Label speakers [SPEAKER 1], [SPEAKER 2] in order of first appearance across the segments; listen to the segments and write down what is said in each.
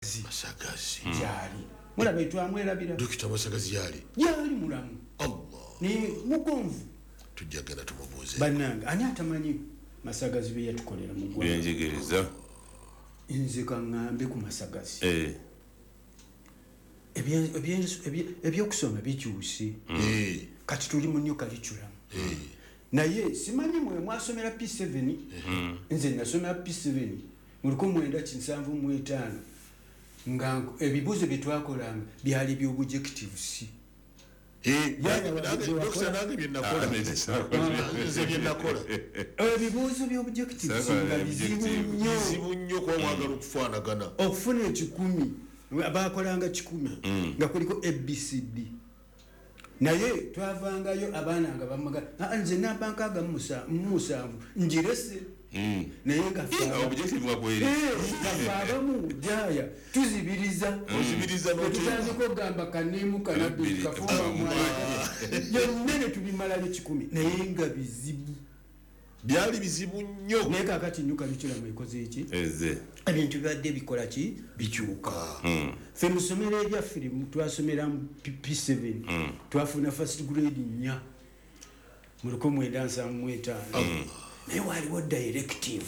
[SPEAKER 1] Masagazi.
[SPEAKER 2] Gyali mulaba, etwamwerabira.
[SPEAKER 1] Dokita Masagazi yali?
[SPEAKER 2] Gyali mulamu.
[SPEAKER 1] Allah.
[SPEAKER 2] Naye mugonvu.
[SPEAKER 1] Tujja genda tumubuuze.
[SPEAKER 2] Bannange, ani atamanyi Masagazi bye yatukolera mu ggwanga?
[SPEAKER 3] Byenjigiriza.
[SPEAKER 2] Nze kaŋŋambe ku Masagazi. Ebyokusoma bikyuse. Kati tuli mu new curriculum, naye simanyi mwe mwasomera P7. Nze nasomera P7 mu 1975, nga ebibuuzo bye twakolanga byali by'objectives.
[SPEAKER 1] Dokita, nange byenakola, nze byenakola.
[SPEAKER 2] Ebibuuzo by'objectives
[SPEAKER 3] Sakola
[SPEAKER 2] nga bizibu
[SPEAKER 3] objective.
[SPEAKER 2] nnyo.
[SPEAKER 1] Bizibu nnyo, kuba wagala okufaanagana.
[SPEAKER 2] Okufuna 100, bakolanga 100 nga kuliko ABCD, naye twavangayo abaana nga bamaga, "Ah, nze namba 67 njirese," naye nga
[SPEAKER 3] Objective nga kweri.
[SPEAKER 2] Nga ffe abamu jaya tuzibiriza.
[SPEAKER 1] Ozibiriza n'oteeka.
[SPEAKER 2] Netutandika okugamba kanimu kanabbiri
[SPEAKER 3] Bbiri,
[SPEAKER 2] kafumba mwaya byonna ne tubimalayo 100, naye nga bizibu.
[SPEAKER 1] Byali bizibu nnyo.
[SPEAKER 2] Naye kakati new curriculum ekoze eki?
[SPEAKER 3] Eze.
[SPEAKER 2] Ebintu bibadde bikola ki? Bikyuka. Ffe mu ssomero eryaffe lye twasomera mu P7, twafuna first grade 4 mu 1975, naye waliwo directive.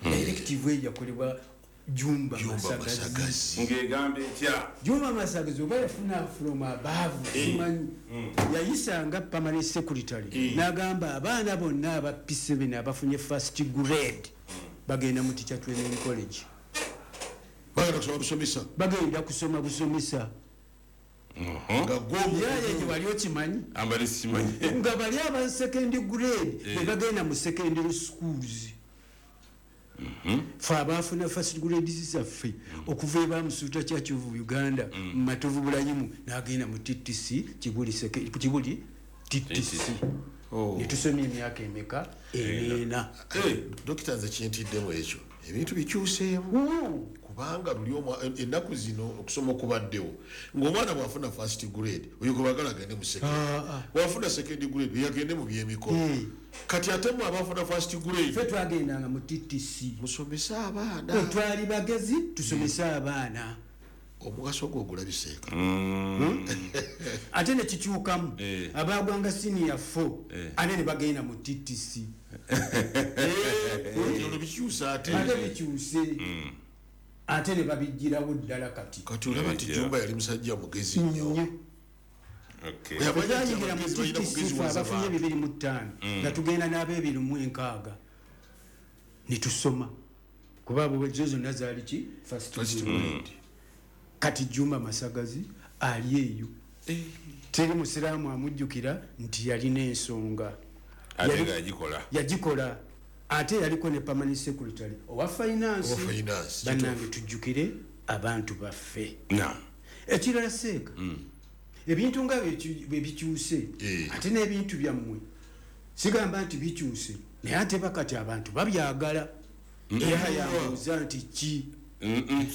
[SPEAKER 2] Directive eyo yakolebwa Jumba
[SPEAKER 1] Jumba
[SPEAKER 2] Masagazi.
[SPEAKER 1] Masagazi.
[SPEAKER 3] Ng'egamba etya?
[SPEAKER 2] Jumba Masagazi oba yafuna from above, simanyi, yayisanga permanent secretary n'agamba abaana bonna aba P7 abafunye first grade bagenda mu teacher training college.
[SPEAKER 1] Bagenda kusoma busomesa.
[SPEAKER 2] Bagenda kusoma busomesa.
[SPEAKER 1] Nga gwomu.
[SPEAKER 2] Yaye gye wali okimanyi?
[SPEAKER 3] Ambali simanyi.
[SPEAKER 2] Nga bali aba second grade bebagenda mu secondary schools. Fe abafuna first grades zaffe okuva ebamusuuta Church of Uganda mu Matovu Bulayimu n'agenda mu TTC Kibuli, Kibuli TTC, netusomya emyaka emeka? 4.
[SPEAKER 1] Dokita, nze kintiddemu ekyo, ebintu bikyuseemu, kubanga luli ennaku zino okusoma okubaddewo ng'omwana bw'afuna first grade, oyo gwe bagala agende mu second, bw'afuna second grade, oyo agende mu byemikono. Kati ate mwe abafuna first grade?
[SPEAKER 2] Ffe twagendanga mu TTC.
[SPEAKER 1] Musomese abaana.
[SPEAKER 2] Twali bagezi, tusomese abaana.
[SPEAKER 1] Omugaso gwo ogulabiseeka.
[SPEAKER 2] Ate nekikyukamu, abagwanga senior 4 ate ne bagenda mu TTC.
[SPEAKER 1] Olwo bikyusa ate.
[SPEAKER 2] Ate bikyuse, ate ne babigirawo ddala kati.
[SPEAKER 1] Kati olaba nti Jumba yali musajja mugezi nnyo.
[SPEAKER 2] Nnyo.
[SPEAKER 1] Yamanya nti
[SPEAKER 2] Twayingira mu
[SPEAKER 1] abagezi balina
[SPEAKER 2] TTC fe
[SPEAKER 1] kugeziwaza
[SPEAKER 2] abafunye
[SPEAKER 1] bantu.
[SPEAKER 2] 25, nga tugenda n'abebiri mu 60 netusoma, kuba abo zo zonna zaali ki? First
[SPEAKER 1] First
[SPEAKER 2] grade.
[SPEAKER 1] grade.
[SPEAKER 2] Kati Jumba Masagazi ali eyo, teri musiraamu amujjukira nti yalina ensonga.
[SPEAKER 3] Ate nga yagikola.
[SPEAKER 2] Yagikola, ate yaliko ne permanent secretary owa finance.
[SPEAKER 1] Owa finance.
[SPEAKER 2] Bannange, tujjukire abantu baffe.
[SPEAKER 3] Na
[SPEAKER 2] Ekirala, seeka ebintu nga bwe bikyuse, ate n'ebintu byammwe sigamba nti bikyuse, naye ate bakati abantu babyagala. Era yambuuza nti ki?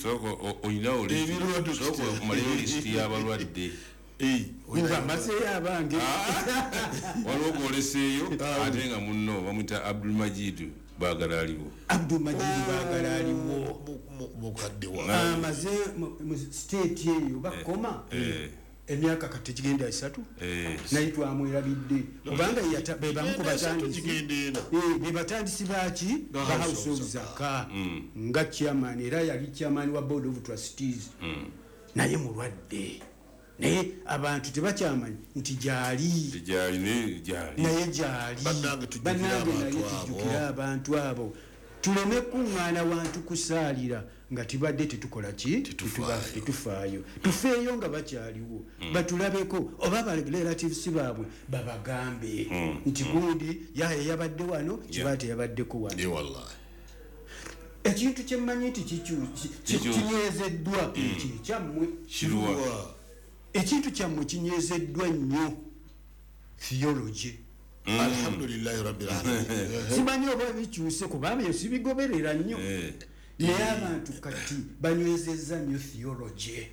[SPEAKER 3] Sooka olinawo
[SPEAKER 1] Ebirwadde.
[SPEAKER 3] sooka omaleyo lisiti y'abalwadde.
[SPEAKER 2] Nga mazeeyo abange.
[SPEAKER 3] Waliwo gwoleseeyo, ate nga munno bamwita Abdulmajidu Baagala aliwo.
[SPEAKER 2] Abdulmajidu Baagala aliwo.
[SPEAKER 1] Mukadde wa
[SPEAKER 2] Amaze mu state eyo bakoma emyaka kati gigenda 3. Naye twamwerabidde kubanga be bamu ku
[SPEAKER 1] Genda 3,
[SPEAKER 2] batandisi.
[SPEAKER 1] gigenda 4.
[SPEAKER 2] Be batandisi baki?
[SPEAKER 1] Ba
[SPEAKER 2] Ba
[SPEAKER 1] House
[SPEAKER 2] House
[SPEAKER 1] of
[SPEAKER 2] of Zaka, nga chairman, era yali chairman wa board of trustees, naye mulwadde, naye abantu tebakyamanyi nti gyali.
[SPEAKER 3] Gyali, naye gyali.
[SPEAKER 2] Naye gyali.
[SPEAKER 1] Bannange, tujjukire
[SPEAKER 2] Bannange, naye
[SPEAKER 1] abantu abo.
[SPEAKER 2] tujjukire abantu abo, tuleme kuŋŋaana wantu kusaalira nga tibadde tetukola ki?
[SPEAKER 1] Tetufaayo.
[SPEAKER 2] Tetufaayo. Tufeeyo nga bakyaliwo, batulabeko, oba ba relatives baabwe babagambe nti gundi yaye yabadde wano, kiba teyabaddeko wano.
[SPEAKER 1] Wallahi.
[SPEAKER 2] Ekintu kyemmanyi nti kinywezeddwa kyekyammwe.
[SPEAKER 3] Kiruwa?
[SPEAKER 1] Wa.
[SPEAKER 2] Ekintu kyammwe kinywezeddwa nnyo, theology.
[SPEAKER 1] Alhamdulillahi rabbil alamin.
[SPEAKER 2] Simanyi oba bikyuse, kubanga ebyo sibigoberera nnyo, naye abantu kati banywezezza nnyo theology.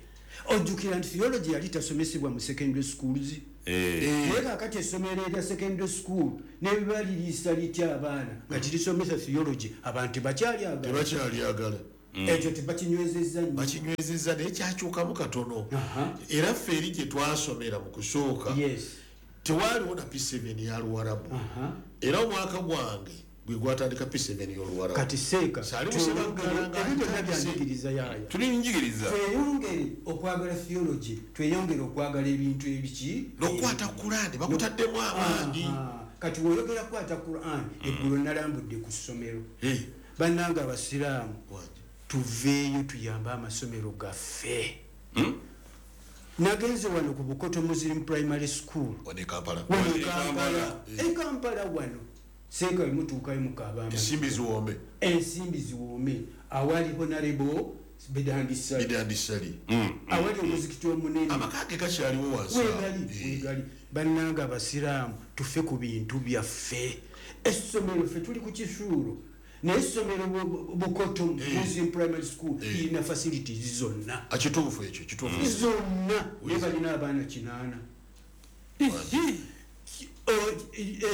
[SPEAKER 2] Ojjukira nti theology yali tasomesebwa mu secondary schools, naye kakati essomero erya secondary school nebiba liriisa litya abaana nga tirisomesa theology? Abantu tebakyali agala.
[SPEAKER 1] Tebakyali agala.
[SPEAKER 2] Ekyo tebakinywezezza nnyo.
[SPEAKER 1] Bakinywezezza, naye kyakyukamu katono. Era ffe eri gye twasomera mu kusooka, tewaaliwo na P7 ya Luwarabu. Era omwaka gwange gwe gwatandika P7 y'Oluwarabu.
[SPEAKER 2] Kati seeka,
[SPEAKER 1] Saali Musebaggala nga
[SPEAKER 2] ebyo byonna
[SPEAKER 1] atandise.
[SPEAKER 2] byanjigiriza yaaya.
[SPEAKER 3] Tuli njigiriza.
[SPEAKER 2] Tweyongere okwagala theology, tweyongere okwagala ebintu ebiki
[SPEAKER 1] N'okukwata Kurani bakutaddemu amaanyi.
[SPEAKER 2] Kati woyogera kukwata Quran, eggulo nalambudde ku ssomero. Bannange abasiraamu,
[SPEAKER 1] Wangi.
[SPEAKER 2] tuveeyo tuyambe amasomero gaffe. Nagenze wano ku Bukoto Muslim Primary School.
[SPEAKER 1] Wano e Kampala.
[SPEAKER 2] Wano e
[SPEAKER 3] e
[SPEAKER 2] Kampala. E Kampala wano seeka wemutuukayo mukaaba amazzi.
[SPEAKER 1] Ensimbi ziwoome.
[SPEAKER 2] Ensimbi ziwoome. Awali Honorable Bidandisali.
[SPEAKER 1] Bidandisali.
[SPEAKER 2] Awali omuzikiti omunene.
[SPEAKER 1] Amaka ge gakyaliwo wansi awo.
[SPEAKER 2] Wegali, wegali. Bannange abasiraamu, tufe ku bintu byaffe. Essomero ffe tuli ku kisuulo, naye essomero Bukoto Muslim Primary School erina facilities zonna.
[SPEAKER 1] Kituufu ekyo, kituufu.
[SPEAKER 2] Zonna. Naye balina abaana 8.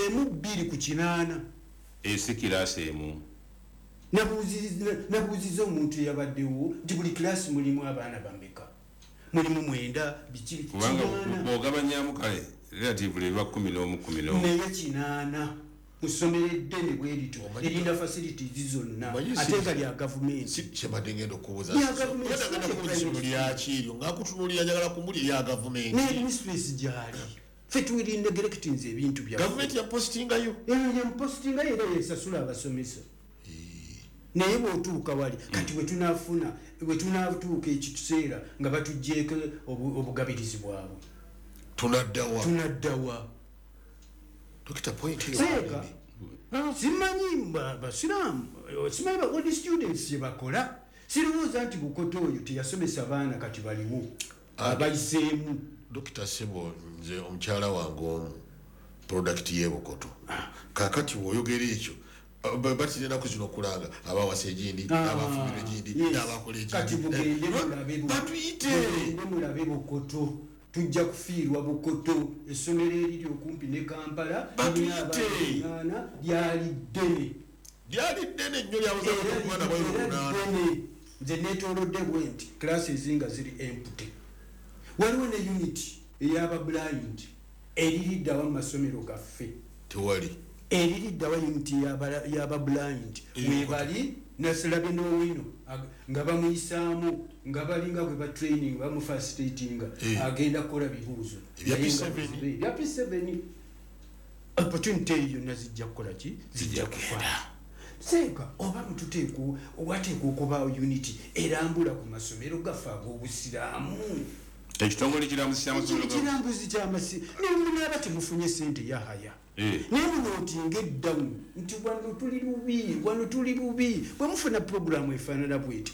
[SPEAKER 2] Emu 2 ku 8.
[SPEAKER 3] Esi kiraasi emu.
[SPEAKER 2] Nabuuziza omuntu eyabaddewo nti buli kiraasi mulimu abaana bameka? Mulimu 9, biki,
[SPEAKER 3] Kubanga
[SPEAKER 2] 8.
[SPEAKER 3] bw'ogabanyamu kale relatively biba 11, 11.
[SPEAKER 2] Naye 8 mu ssomero eddene bwe lityo, erina facilities zonna, ate nga lya gavumenti.
[SPEAKER 1] Si kyembadde ngenda okubuuza.
[SPEAKER 2] Lya gavumenti,
[SPEAKER 1] Ngenda
[SPEAKER 2] si
[SPEAKER 1] kubuuza
[SPEAKER 2] private
[SPEAKER 1] essomero lya ki eryo, nga nkutunuulira njagala kumulya erya gavumenti.
[SPEAKER 2] Ne mistress gy'ali. Ffe tuli neglectinze ebintu byaffe.
[SPEAKER 1] Gavumenti yapositingayo.
[SPEAKER 2] Eyo yamupositingayo era yesasula abasomesa. Naye bw'otuuka wali, kati bwe tunaatuuka ekiseera nga batuggyeeko obugabirizi bwabwe.
[SPEAKER 1] Tunaddawa.
[SPEAKER 2] Tunaddawa.
[SPEAKER 1] Dokita, point eyo.
[SPEAKER 2] Seeka, simanyi basiraamu, simanyi ba old students kye bakola. Sirowooza nti Bukoto oyo teyasomesa baana kati baliwo abayiseemu.
[SPEAKER 1] Dokita Sebo, nze omukyala wange omu product y'e Bukoto. Kaakati bw'oyogera ekyo, batira ennaku zino okulanga abawasa egindi, n'abafumbirwa egindi, n'abakola egindi.
[SPEAKER 2] Kati mugende
[SPEAKER 1] Batuyite.
[SPEAKER 2] mugende mulabe Bukoto. Tujja kufiirwa Bukoto. Essomero eriri okumpi ne Kampala,
[SPEAKER 1] Batuyite.
[SPEAKER 2] lirina abaana 8, lyali ddene.
[SPEAKER 1] Lyali ddene nnyo, lyabuza
[SPEAKER 2] Era
[SPEAKER 1] omwana bw'ali
[SPEAKER 2] era
[SPEAKER 1] 8.
[SPEAKER 2] ddene. Nze neetoolodde bwe nti class ezinga ziri empty. Waliwo ne unit ey'aba blind eririddawa mu masomero gaffe.
[SPEAKER 1] Tewali.
[SPEAKER 2] Eririddawa unit y'aba blind. Webali nasirabe n'owino nga bamuyisaamu nga balinga bwe ba training bamufacilitatinga, agenda kukola bibuuzo.
[SPEAKER 1] Ebya
[SPEAKER 2] Naye nga
[SPEAKER 1] P7.
[SPEAKER 2] bizibu. Ebya P7. Opportunity eyo yonna zijja kukola ki? Zijja kufa. Seeka oba wateekwa okubaawo unity erambula ku masomero gaffe ag'obusiraamu.
[SPEAKER 3] Ekitongole kirambuzi ky'amasomero ga-
[SPEAKER 2] Ekirambuzi ky'amasi-, naye munaaba temufunye ssente ya haya. Naye munootinga eddamu nti wano tuli bubi, wano tuli bubi. Bwe mufuna puroguramu efaanana bweti,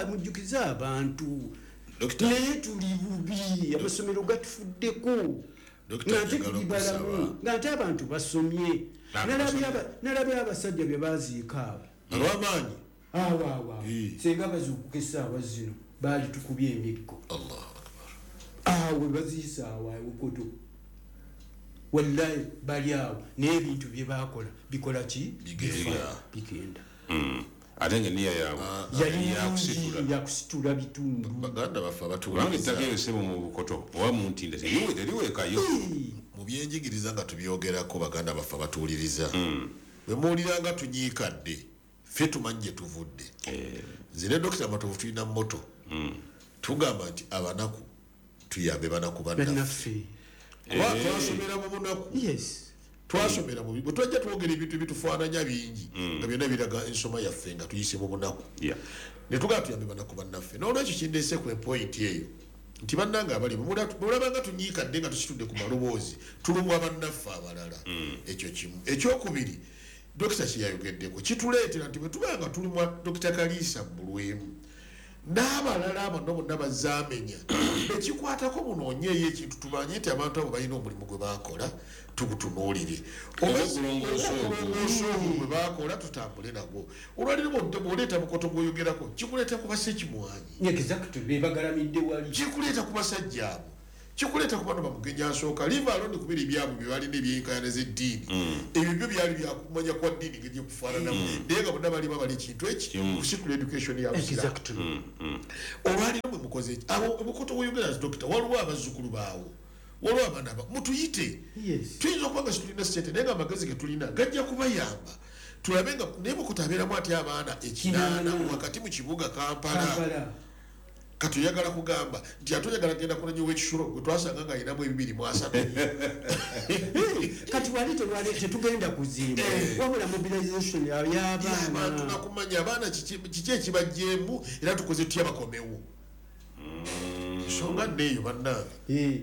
[SPEAKER 2] mujjukize abantu.
[SPEAKER 1] Dokita.
[SPEAKER 2] Naye tuli bubi, amasomero gatufuddeko.
[SPEAKER 1] Dokita,
[SPEAKER 2] Nga ate
[SPEAKER 1] njagala
[SPEAKER 2] tuli balamu,
[SPEAKER 1] okusaba.
[SPEAKER 2] nga ate abantu basomye.
[SPEAKER 3] Abantu basomye.
[SPEAKER 2] Nalabye abasajja bye baaziika abo.
[SPEAKER 1] Ab'amaanyi.
[SPEAKER 2] Awo, awo, awo. Singa bazuukuka essaawa zino, baali tukubye emiggo.
[SPEAKER 1] Allahu Akbar.
[SPEAKER 2] Awo baziisa awo, awo Bukoto. Wallahi bali awo, naye ebintu bye baakola bikola ki?
[SPEAKER 1] Bigenda.
[SPEAKER 2] Bifa, bigenda.
[SPEAKER 3] Ate nga enniya yaabwe
[SPEAKER 2] Yali
[SPEAKER 3] yali yakusitula.
[SPEAKER 2] nungi, yakusitula bitundu.
[SPEAKER 1] Baganda baffe
[SPEAKER 3] Kubanga
[SPEAKER 1] abatuwuliriza.
[SPEAKER 3] ettaka eryo ssebo mu Bukoto oba mu Ntinda teriweekayo.
[SPEAKER 1] Mu byenjigiriza nga tubyogerako, baganda baffe abatuwuliriza. Bwe muwulira nga tunyiikadde, ffe tumanyi gye tuvudde. Nze ne Dokita Matovu tulina motto. Tugamba nti abanaku tuyambe banaku bannaffe.
[SPEAKER 2] Bannaffe.
[SPEAKER 1] Kuba twasomera mu bunaku. Twasomera mu bi-, bwe twajja twogera ebintu ebitufaananya bingi, nga byonna biraga ensoma yaffe nga tuyise mu bunaku. Ne tugamba tuyambe banaku bannaffe. N'olwekyo kindeese ku point eyo nti bannange abali mulaba nga tunyiikadde nga tusitudde ku maloboozi, tulumwa bannaffe abalala. Ekyo kimu. Ekyokubiri, Dokita kye yayogeddeko kituleetera nti bwe tuba nga tulumwa Dokita Kaliisa Bbulwemu n'abalala abo nno bonna bazzaamenya, ekikwatako munoonyeeyo ekintu tumanye nti abantu abo balina omulimu gwe baakola, tugutunuulire.
[SPEAKER 3] Oba okulongoosa ogwo.
[SPEAKER 1] Okulongoosa ogwo gwe baakola tutambule nagwo. Olwaleero bw'oleeta Bukoto gw'oyogerako, kikuleeta ku basekimwanyi.
[SPEAKER 2] Exactly, be bagalamidde wali.
[SPEAKER 1] Kikuleeta ku basajja abo. Kikuleeta ku bano bamugenyi asooka liva alondi kubiri ebyabwe bye balina ebyenkayana z'eddiini. Ebyo byo byali byakumanya kwa ddiini ngeri gyekufaananamu, naye nga bonna bali babala ekintu eki kusitula education ya Busiraamu. Olwaliro mwe mukoze eki abo obukoto bweyogera dokita, waliwo abazzukulu baawo, waliwo abaana ba mutuyite. Tuyinza okuba nga situlina sente, naye nga amagezi ge tulina gajja kubayamba tulabe nga naye Bukoto abeeramu atya abaana 8 wakati mu kibuga Kampala. Kati oyagala kugamba nti ate oyagala genda kunanya ow'ekisulo gwe twasanga nga ayinamu 230.
[SPEAKER 2] Kati wali tetugenda kuzimba, wabula mobilization y'abaana
[SPEAKER 1] nakumanya abaana kiki ekibajjeemu era tukoze tutya bakomewo. Ensonga nneeyo bannange.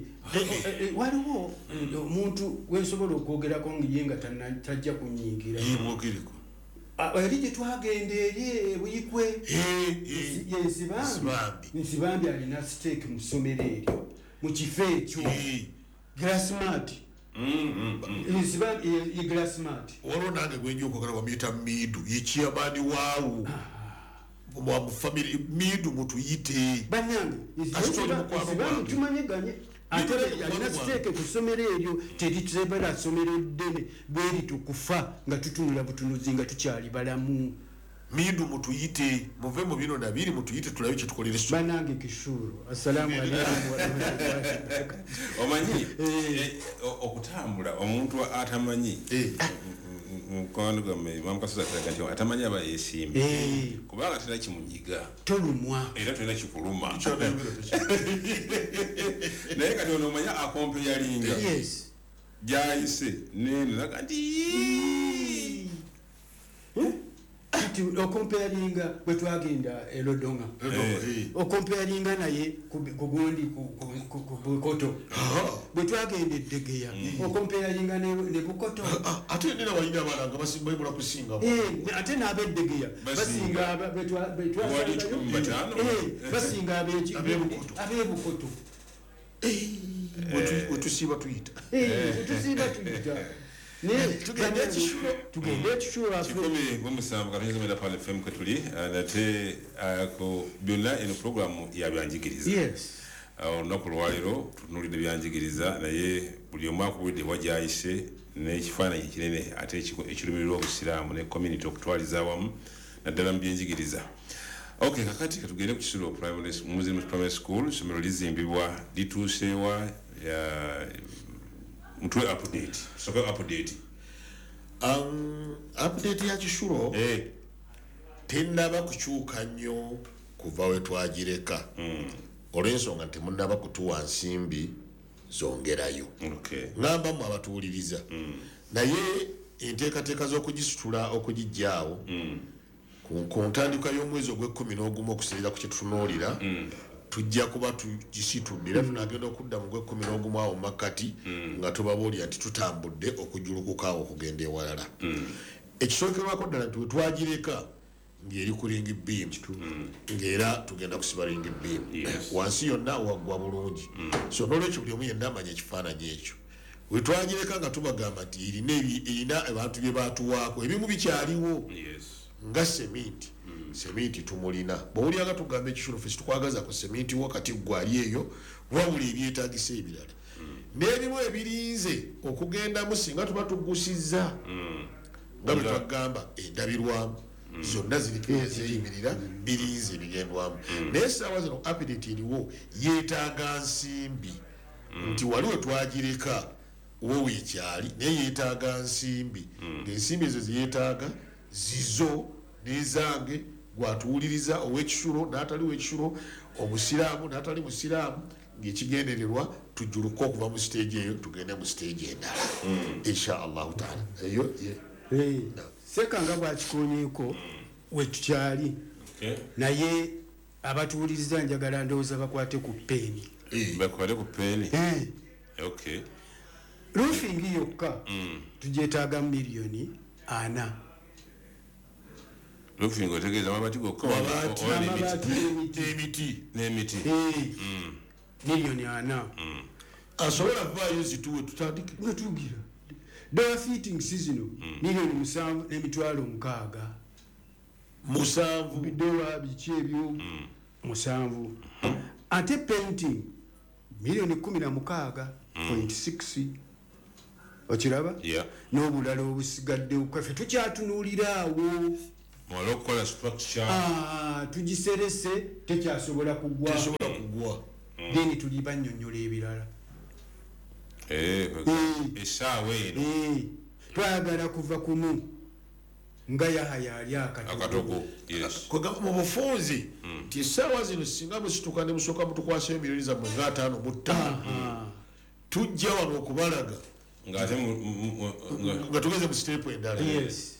[SPEAKER 2] Waliwo omuntu gwensobola okwogerako ye nga tajja kunyingira.
[SPEAKER 1] Mwogereko.
[SPEAKER 2] Eri gye twagenda eri Ebuyikwe, ye Nsibambi. Nsibambi alina stake mu ssomero eryo mu kifo ekyo. Glassmart. Nsibambi ye Glassmart.
[SPEAKER 1] Waliwo nange gwe nja okwogera bamuyita Miidu, ye chairman waawo mu family. Miidu mutuyite.
[SPEAKER 2] Bannange, Nsibambi tumanyiganye. Ate alina siteeke ku ssomero eryo, teritebera ssomero ddene bweri tukufa nga tutunula butunuzi nga tukyali balamu.
[SPEAKER 1] Miidu mutuyite, muve mu bino nabiri mutuyite tulabe kye tukolera essomero.
[SPEAKER 2] Bannange Kisulo, assalamu alaikum warahmatullahi wabarakatuh.
[SPEAKER 3] Omanyi okutambula omuntu atamanyi mukwano gwammwe Mamukasozi atulaga nti atamanyi aba yeesimbye, kubanga terina kimunyiga,
[SPEAKER 2] tolumwa
[SPEAKER 3] era tolina kikuluma. Naye kati ono omanya akompeyalinga gyayise neno naga nti
[SPEAKER 2] kati okompeyalinga bwe twagenda e Lodonga, okompeyalinga naye kugundi ku Bukoto, bwe twagenda e Ddegeya okompeyalinga ne Bukoto.
[SPEAKER 1] Ate nina walina abaana nga basimba kusinga,
[SPEAKER 2] ate n'ab'Eddegeya basinga basinga ab'Ebukoto.
[SPEAKER 1] Wetusiiba tuyita,
[SPEAKER 2] wetusiiba tuyita.
[SPEAKER 1] Tugende ekisulo,
[SPEAKER 2] tugende ekisulo.
[SPEAKER 3] 17 Pale FM kwe nate ku byonna eno programu ya byanjigiriza. Olunaku lwaleero tutunuulidde byanjigiriza, naye buli omu akubidde wajayise n'ekifaananyi ekinene ate ekirumirirwa Obusiraamu ne community okutwaliza awamu naddala mu byenjigiriza. Okay, kakati katugende ku Kisulo Muslim Primary School. Essomero lizimbibwa lituuseewa? Mutwe update. Soka update.
[SPEAKER 1] Update ya Kisulo tennaba kukyuka nnyo kuva we twagireka. Olw'ensonga nti munnaba kutuwa nsimbi zongerayo. Ngamba mmwe abatuwuliriza. Naye enteekateeka z'okugisitula okugijjaawo ku ntandikwa y'omwezi ogw'e11 okusinziira ku kye tutunuulira, tujja kuba tugisitudde era tunagenda okudda mu gwe11 awo makkati nga tubabuulira nti tutambudde okujulukuka awo okugenda ewalala. Ekisookerwako ddala nti wetwagireka ng'eri ku ring beam, ng'era tugenda kusiba ring beam wansi yonna waggwa bulungi. So n'olwekyo buli omu yenna amanya ekifaananyi ekyo. Wetwagireka nga tubagamba nti erina abantu bye baatuwaako ebimu bikyaliwo nga seminti. Seminti tumulina. Bw'owulira nga tugamba ekisulo ffe situkwagaza ku seminti wo kati ggwe ali eyo, wabula ebyetaagisa ebirala n'ebimu ebirinze okugendamu singa tuba tugusizza nga bwe twagamba endabirwamu zonna ziriko ezeeyimirira birinze ebigendwamu. Naye essaawa zino update eriwo yeetaaga nsimbi, nti wali we twagireka wo weekyali, naye yeetaaga nsimbi. Ng'ensimbi ezo zeyeetaaga zizo n'ezange, gwatuwuliriza ow'ekisulo n'atali w'ekisulo, omusiraamu n'atali musiraamu, ng'ekigendererwa tujjuluke okuva mu siteegi eyo tugende mu siteegi endala insha Allahu taala. Eyo
[SPEAKER 2] Seka nga bwakikoonyeeko wetukyali, naye abatuwuliriza njagala ndowooza bakwate ku peeni.
[SPEAKER 3] Bakwate ku peeni.
[SPEAKER 2] Roofing yokka tugyetaaga 4 million.
[SPEAKER 3] Roofing otegeeza amabaati gokka?
[SPEAKER 1] Emiti.
[SPEAKER 3] N'emiti.
[SPEAKER 2] 4 million.
[SPEAKER 1] Asobola vaayo zituwe tutandike.
[SPEAKER 2] Nga tugira. Door fittings zino 7,600,000.
[SPEAKER 1] 7.
[SPEAKER 2] Bidowa biki ebyo 7. Ate painting 2 Miliyoni 16.6. Okiraba?
[SPEAKER 3] Yeah.
[SPEAKER 2] N'obulala obusigaddewo kaffe tukyatunuulira awo.
[SPEAKER 3] Mwale okukola structure.
[SPEAKER 2] Tugiserese tekyasobola kugwa.
[SPEAKER 1] Tesobola kugwa.
[SPEAKER 2] Then tuli bannyonnyola ebirala.
[SPEAKER 3] Essaawa eno.
[SPEAKER 2] Twagala kuva kumu nga Yahaya ali akatoko.
[SPEAKER 3] Yes.
[SPEAKER 1] Mu bufunzi nti essaawa zino singa musituka ne musooka mutukwasayo miliyoni zammwe nga 55 tujja wano okubalaga nga tugeze mu siteepu endala.
[SPEAKER 2] Yes.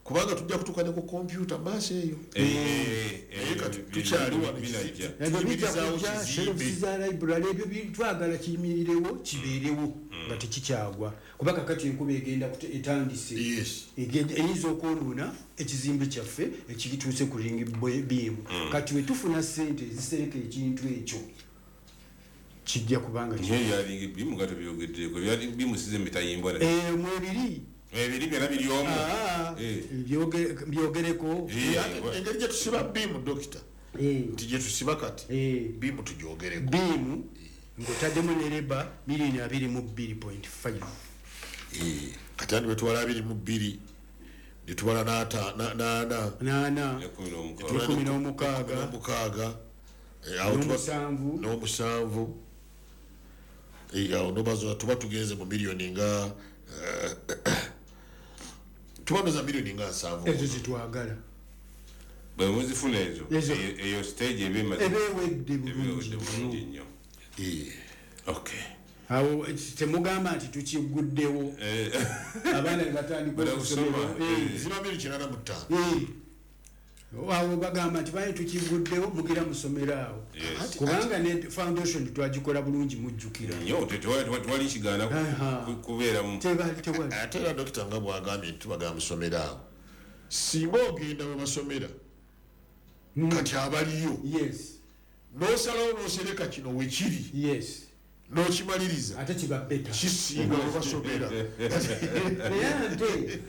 [SPEAKER 1] Kubanga tujja kutuuka ne ku kompyuta maaso eyo. Naye kati tukyali wano
[SPEAKER 2] shelves za library ebyo twagala kiyimirirewo kibeerewo nga tekikyagwa, kuba kakati enkuba egenda etandise. Eyinza okwonoona ekizimbe kyaffe ekituuse ku ring beam. Kati we tufuna ssente ezisereka ekintu ekyo kijja kubanga
[SPEAKER 3] ebya beam nga tebyogeddeko, ebya beam size emitayimbwa
[SPEAKER 2] mwebiri
[SPEAKER 3] ebiri byonna biri omu.
[SPEAKER 2] Byogereko.
[SPEAKER 1] Engeri gye tusiba beam, dokita, nti gye tusiba kati beam tugyogereko.
[SPEAKER 2] Beam ng'otaddemu ne leba miliyoni 22.5.
[SPEAKER 1] Kati andi bwetubala 22 ne tubala n'ana
[SPEAKER 2] 16
[SPEAKER 1] n'omusanvu, awo nobazo tuba tugenze mu miliyoni nga tubanoza miliyoni nga 70.
[SPEAKER 2] Ezo zitwagala
[SPEAKER 3] bwe muzifuna ezo, eyo stage
[SPEAKER 2] ebe ewedde bulungi
[SPEAKER 3] nnyo. Okay.
[SPEAKER 2] Awo temugamba nti tukiguddewo abaana ne batandika okusomera.
[SPEAKER 1] Ziba 85.
[SPEAKER 2] Awo bagamba nti baye tukiguddewo mugira musomera awo. Kubanga ne foundation twagikola bulungi mujjukira.
[SPEAKER 3] Nnyo tewali kigaana kubeeramu.
[SPEAKER 2] Tewali.
[SPEAKER 1] Ate era dokita nga bw'agambye nti tubagamba musomera awo, singa ogenda we basomera kati abaliyo.
[SPEAKER 2] Yes.
[SPEAKER 1] N'osalawo n'osereka kino wekiri.
[SPEAKER 2] Yes.
[SPEAKER 1] N'okimaliriza.
[SPEAKER 2] Ate kiba beta.
[SPEAKER 1] Kisinga we basomera.
[SPEAKER 2] Naye ate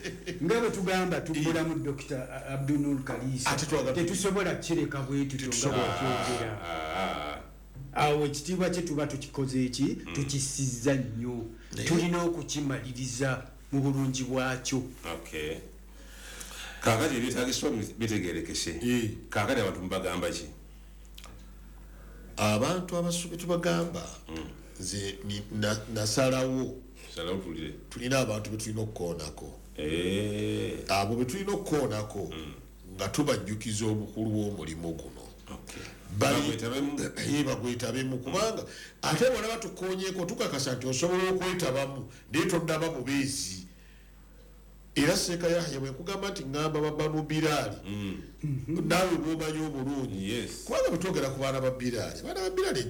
[SPEAKER 2] nga bwe tugamba tubbulamu Dr. Abdunur Kalisa, tetusobola kireka bwe tutyo nga bw'okyogera. Awo ekitiibwa kye tuba tukikoze eki tukisizza nnyo. Tulina okukimaliriza mu bulungi bwakyo.
[SPEAKER 3] Okay. Kaakati ebyetaagisibwa bitegeerekese. Kaakati abantu mubagamba ki?
[SPEAKER 1] Abantu abasubi tubagamba nze nasalawo tulina abantu betulina okukoonako. Abo betulina okukoonako nga tubajjukiza obukulu bw'omulimu guno. Bagwetabemu kubanga ate bw'olaba tukoonyeeko tukakasa nti osobola okwetabamu naye tonnaba bubeezi. Era Seeka Yahya bwe nkugamba nti ŋŋamba babanu Biraali, naawe bw'omanyi obulungi. Kubanga bwe twogera ku baana ba Biraali, abaana ba Biraali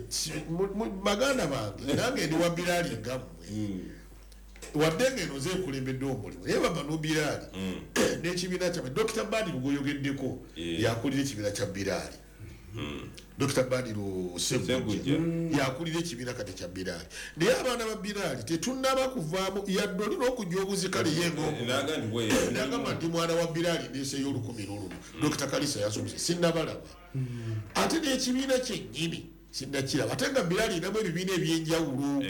[SPEAKER 1] baganda bange, nange ndi wa Biraali nga mmwe. Wadde ng'eno nze nkulembedde omulimu, naye babanu Biraali n'ekibiina kyammwe, Dr. Badiru gw'oyogeddeko yakulira ekibiina kya Biraali. Dr. Badiru Ssegujja yakulira ekibiina kati kya Biraali. Naye abaana ba Biraali tetunnaba kuvaamu yadde olina okujja obuzikale ye ng'omu. Ndi mwana wa Biraali ndeeseeyo 1000. Dr. Kalisa yasomesa sinnabalaba. Ate n'ekibiina kyennyini sinnakiraba. Ate nga Biraali erinamu ebibiina eby'enjawulo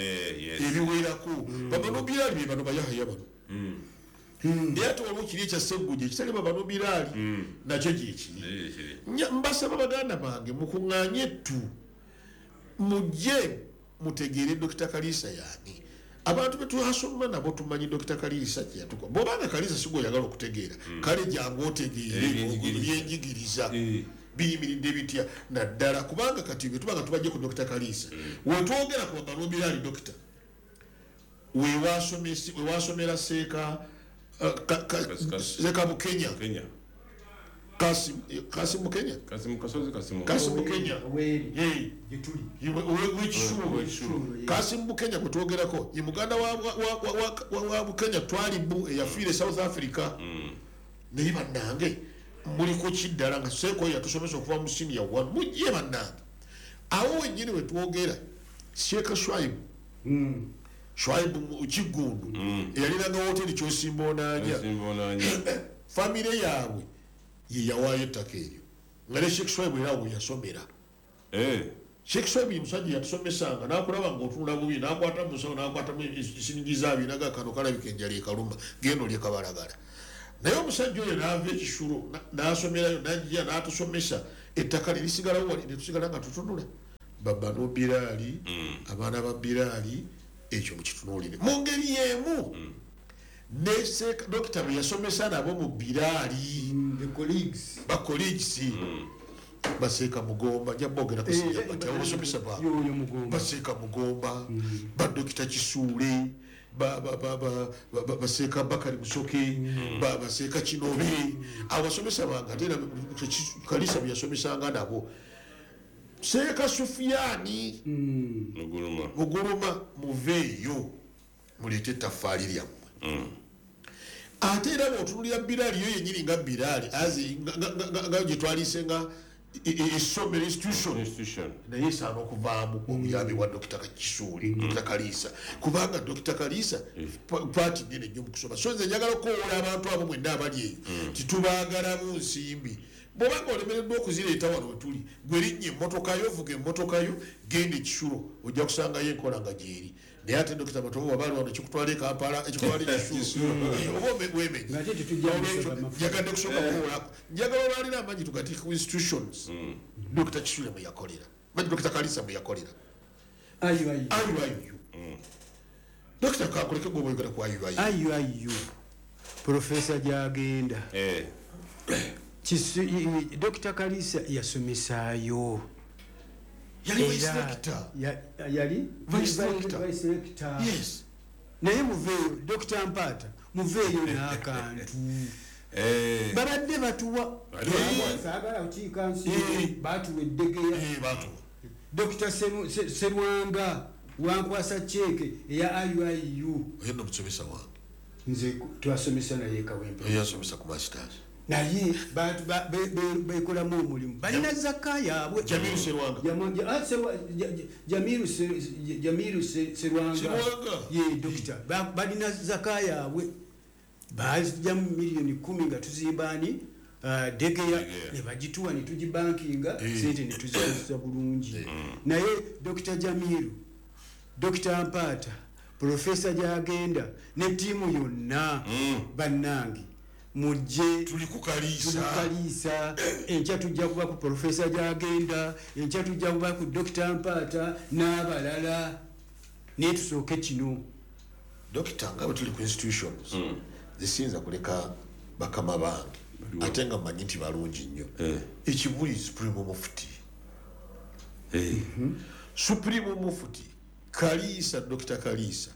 [SPEAKER 1] ebiwerako. Babano Biraali be bano Bayahaya bano. Naye ate waliwo kiri ekya Ssegujja ekitali babano Biraali nakyo gyekiri. Mbasaba baganda bange mukuŋŋaanye ettu mujje mutegeere Dr. Kalisa yaani. Abantu be twasoma nabo tumanyi Dr. Kalisa kye yatukola. Bw'obanga Kalisa si gw'oyagala okutegeera, kale jangu otegeere ebyenjigiriza biyimiridde bitya naddala kubanga kati bwe tubanga tubajje ku Dr. Kalisa. Wetwogera ku babano Biraali Dr. we wasomera Seeka Seeka Bukenya. Kasim Bukenya. Kasim Bukenya. Kasim Bukenya gwe twogerako ye muganda wa Bukenya Twalibu eyafiire South Africa. Naye bannange muli ku kiddala nga Seeka oyo yatusomesa okuva mu senior 1 mujje bannange. Awo wennyini we twogera Sheikh Shwaibu Shwaibu Kiggundu eyalinanga woteri Kyosimba Onaanya. Famire yaabwe ye yawaayo ettaka eryo nga ne Sheikh Shwaibu era we yasomera. Sheikh Swabi musajja yatusomesanga n'akulaba ng'otunula bubi n'akwata mu nsawo n'akwatamu esiringi zaabiri n'agamba kano kalabika enjala ekaluma genda olye kabalagala. Naye omusajja oyo n'ava ekisulo n'asomerayo n'ajja n'atusomesa ettaka lye lisigalawo wali ne tusigala nga tutunula. Babano Biraali, abaana ba Biraali, ekyo mukitunuulire. Mu ngeri y'emu ne Dokita bwe yasomesa nabo mu Biraali,
[SPEAKER 2] The colleagues.
[SPEAKER 1] Ba colleagues, Baseeka Mugomba, nja boogera ku sinja bati abo basomesa baabwe.
[SPEAKER 2] Yoyo Mugomba.
[SPEAKER 1] Baseeka Mugomba, ba Dokita Kisuule, Baseeka Bakari Musoke, Baseeka Kinobe, abo basomesa bange ate era Kalisa bwe yasomesanga nabo. Seeka Sufiani
[SPEAKER 3] Muguluma.
[SPEAKER 1] Muguluma, muveeyo muleete ettaffaali lyammwe. Ate era bw'otunuulira Biraali yo yennyini nga Biraali azi nga gye twaliise nga essomero institution.
[SPEAKER 3] Institution.
[SPEAKER 1] Naye esaana okuvaamu obuyambi bwa Dokita Kisuuli, Dokita Kaliisa, kubanga Dokita Kaliisa paati nnene nnyo mu kusoma. So nze njagala okukowoola abantu abo mwenna abali eyo titubaagalamu nsimbi. Bw'obanga olemereddwa okuzireeta wano we tuli, gwe linnya emmotoka yo, vuga emmotoka yo, genda ekisulo, ojja kusangayo enkola nga gyeri. Naye ate Dokita Matovu bw'aba ali wano ekikutwala e Kampala, ekikutwala ekisulo, oba weemenye.
[SPEAKER 2] Ng'ate tetujja
[SPEAKER 1] Olwekyo,
[SPEAKER 2] kusaba mafuta.
[SPEAKER 1] njagadde kusooka kuwoolako. Njagala olwaliro amaanyi tugateeke ku institutions. Dokita Kisule mwe yakolera. Manyi Dokita Kalisa mwe yakolera.
[SPEAKER 2] Ayu, ayu.
[SPEAKER 1] Ayu, ayu. Dokita kakuleke gwe bw'oyogera ku ayu, ayu.
[SPEAKER 2] Ayu, ayu. Profesa gy'agenda. Dokita Kalisa yasomesaayo.
[SPEAKER 1] Yali
[SPEAKER 2] Era
[SPEAKER 1] vice rector.
[SPEAKER 2] Yali?
[SPEAKER 1] Vice rector.
[SPEAKER 2] Vice rector.
[SPEAKER 1] Yes.
[SPEAKER 2] Naye muveeyo, Dokita Mpaata, muveeyo n'akantu. Babadde batuwa.
[SPEAKER 3] Bali batuwa.
[SPEAKER 2] Saagala kukiika nsi, batuwa eddegeya.
[SPEAKER 1] Batuwa.
[SPEAKER 2] Dokita Serwanga wankwasa ceeke eya IUIU.
[SPEAKER 1] Oyo nno musomesa wange.
[SPEAKER 2] Nze twasomesa naye Kawempe.
[SPEAKER 1] Oyo yasomesa ku masters.
[SPEAKER 2] Naye bantu bekolamu omulimu. Balina zaka yaabwe.
[SPEAKER 1] Jamiru Serwanga.
[SPEAKER 2] Jamiru Jamiru Serwanga.
[SPEAKER 1] Serwanga.
[SPEAKER 2] Ye dokita. Balina zaka yaabwe. Bajjamu miliyoni 10 nga tuzimba ani? Degeya,
[SPEAKER 3] Degeya.
[SPEAKER 2] ne bagituwa ne tugibankinga, sente ne tuzikozesa bulungi. Naye Dokita Jamiru, Dokita Mpaata, Profesa gy'agenda ne ttiimu yonna, bannange mujje.
[SPEAKER 1] Tuli ku Kaliisa.
[SPEAKER 2] Tuli ku Kaliisa. Enkya tujja kuba ku Profesa gy'agenda, enkya tujja kuba ku Dokita Mpaata n'abalala. Naye tusooke kino.
[SPEAKER 1] Dokita, nga bwe tuli ku institutions, zisiyinza kuleka bakama bange, ate nga mmanyi nti balungi nnyo. Ekibuli Supreme Mufti. Supreme Mufti Kaliisa, Dokita Kaliisa,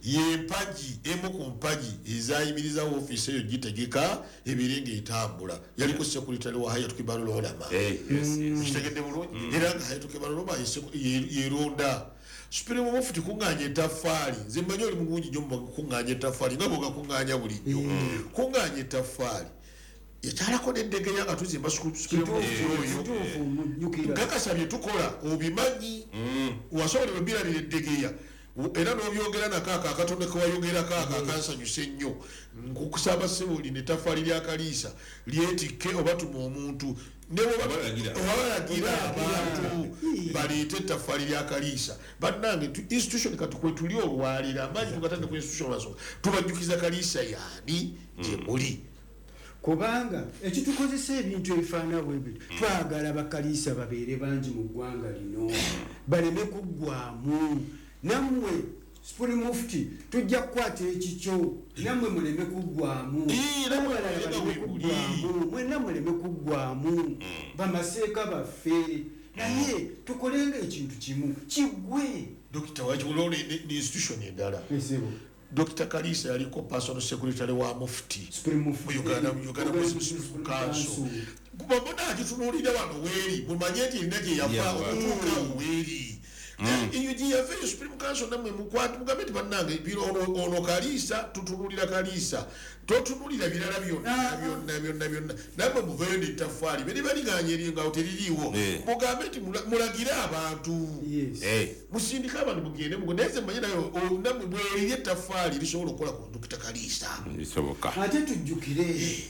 [SPEAKER 1] ye mpagi emu ku mpagi ezayimiriza woofiisi eyo gitegeka ebeere ng'etambula. Yaliko sekuritale wa Hayatu Kibarul Ulama.
[SPEAKER 3] Yes, yes.
[SPEAKER 1] Kitegedde bulungi? Era nga Hayatu Kibarul Ulama yeronda. Supreme Mufti kuŋŋaanya ettaffaali. Nze mmanyi oli mulungi nnyo mu kuŋŋaanya ettaffaali, nga bw'ogakuŋŋaanya bulijjo. Kuŋŋaanya ettaffaali. Yakyalako n'endegeya nga tuzimba Supreme Mufti oyo.
[SPEAKER 2] Kituufu, mujjukira.
[SPEAKER 1] Nkakasa bye tukola obimanyi. Wasobola ebirabira eddegeya. Era n'obyogera nako ako akatono ke wayogerako ako akansanyusa ennyo. Nkukusaba ssebo lino ettaffaali lya Kaliisa lyetikke oba tuma omuntu. Ne bw'oba
[SPEAKER 3] Obalagira.
[SPEAKER 1] obalagira abantu baleete ettaffaali lya Kaliisa. Bannange, institution kati kwe tuli olwaleero, amaanyi tugatandika ku institution lwasooka. Tubajjukiza Kaliisa y'ani gye muli.
[SPEAKER 2] Kubanga ekitukozesa ebintu ebifaanana bwe bityo, twagala bakaliisa babeere bangi mu ggwanga lino, baleme kuggwamu. Nammwe Supreme Mufti tujja kukwata ekikyo, nammwe muleme kuggwamu.
[SPEAKER 1] Nammwe
[SPEAKER 2] Abalala
[SPEAKER 1] muleme
[SPEAKER 2] baleme
[SPEAKER 1] kuggwamu.
[SPEAKER 2] kuggwamu, mwenna muleme kuggwamu. Bamaseeka baffe, naye tukolenga ekintu kimu kiggwe.
[SPEAKER 1] Dokita, wakiwulira ne institution endala.
[SPEAKER 2] Esebo.
[SPEAKER 1] Dokita Kalisa yaliko personal secretary wa Mufti.
[SPEAKER 2] Supreme Mufti.
[SPEAKER 1] Mu Uganda, mu Uganda
[SPEAKER 2] Uganda
[SPEAKER 1] Muslim
[SPEAKER 2] Muslim
[SPEAKER 1] Council.
[SPEAKER 2] Council.
[SPEAKER 1] Kuba mbona akitunuulira wano weeri, mumanye nti erina gye yava
[SPEAKER 3] Yava.
[SPEAKER 1] okutuuka awo weeri. Eyo gye yava eyo Supreme Council nammwe mukwate, mugambe nti bannange, bino ono Kalisa, tutunuulira Kalisa. Totunuulira birala byonna, byonna, byonna, byonna. Nammwe muveeyo n'ettaffaali. Bwe liba ligaanye eryo nga teririiwo. Mugambe nti mulagire abantu. Musindike abantu mugende mugo. Naye nze mmanyi naye, nammwe mwerire ettaffaali lisobola okukola ku Dokita Kalisa.
[SPEAKER 3] Lisoboka.
[SPEAKER 2] Ate tujjukire